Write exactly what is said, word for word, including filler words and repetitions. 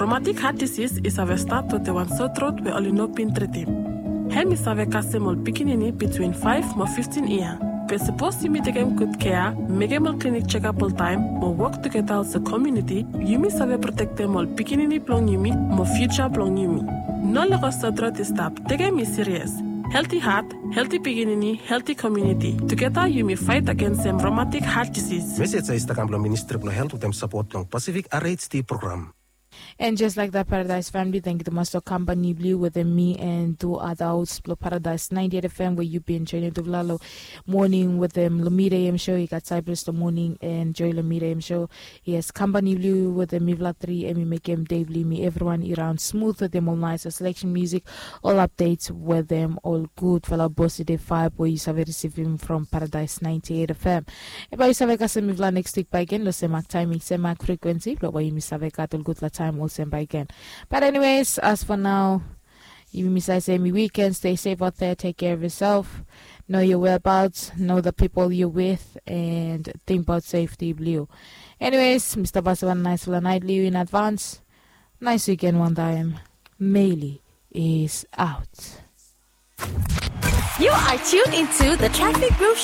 Romatik hat disis i save stat wetem wan sotrot we oli no bin tritim. Hem i save kasem ol pikinini bitwin faef mo fiftin yia. Be sapos yumi tekem gud kea, mekem ol klinik jekap oltaem mo wok tugeta olsem komuniti, yumi save protektem ol pikinini blong yumi mo fiuja blong yumi. No lego sotrot i stap. Tekem i sirias. Helti hat, helti pikinini, helti komuniti. Tugeta yumi faet agensem romatik hat disis. Mesej ya i stap kam blong Ministri blong Helt wetem sapot blong Pasifik R H D program. And just like that, Paradise family, thank you tumas long kampani blong yu wetem mi and tu other hosts blong Paradise ninety-eight F M, where you been joining tufala long morning wetem Lumida A M show. You got Cyprus the morning and Joy Lumida A M show. Yes, kampani blong yu wetem mifala tri, em i mekem dei blong yumi everyone i raon smooth wetem ol nice selection music, ol updates wetem ol gudfala positive vibe we yu save risivim from Paradise ninety-eight F M. Bae yu save kasem mifala next week bakegen long sem mak timing, sem mak frequency blong bae yumi save gat ol gudfala taem olsem bakegen. But anyways, as for now, yumi save se hemi weekend, stay safe out there, take care of yourself, know your whereabouts, know the people you're with, and think about safety blong yu. Anyways, mi stap askem wan naesfala naet long yu in advance. Nice weekend wantaem. Meli is out. You are tuned into the Traffic Groove Show.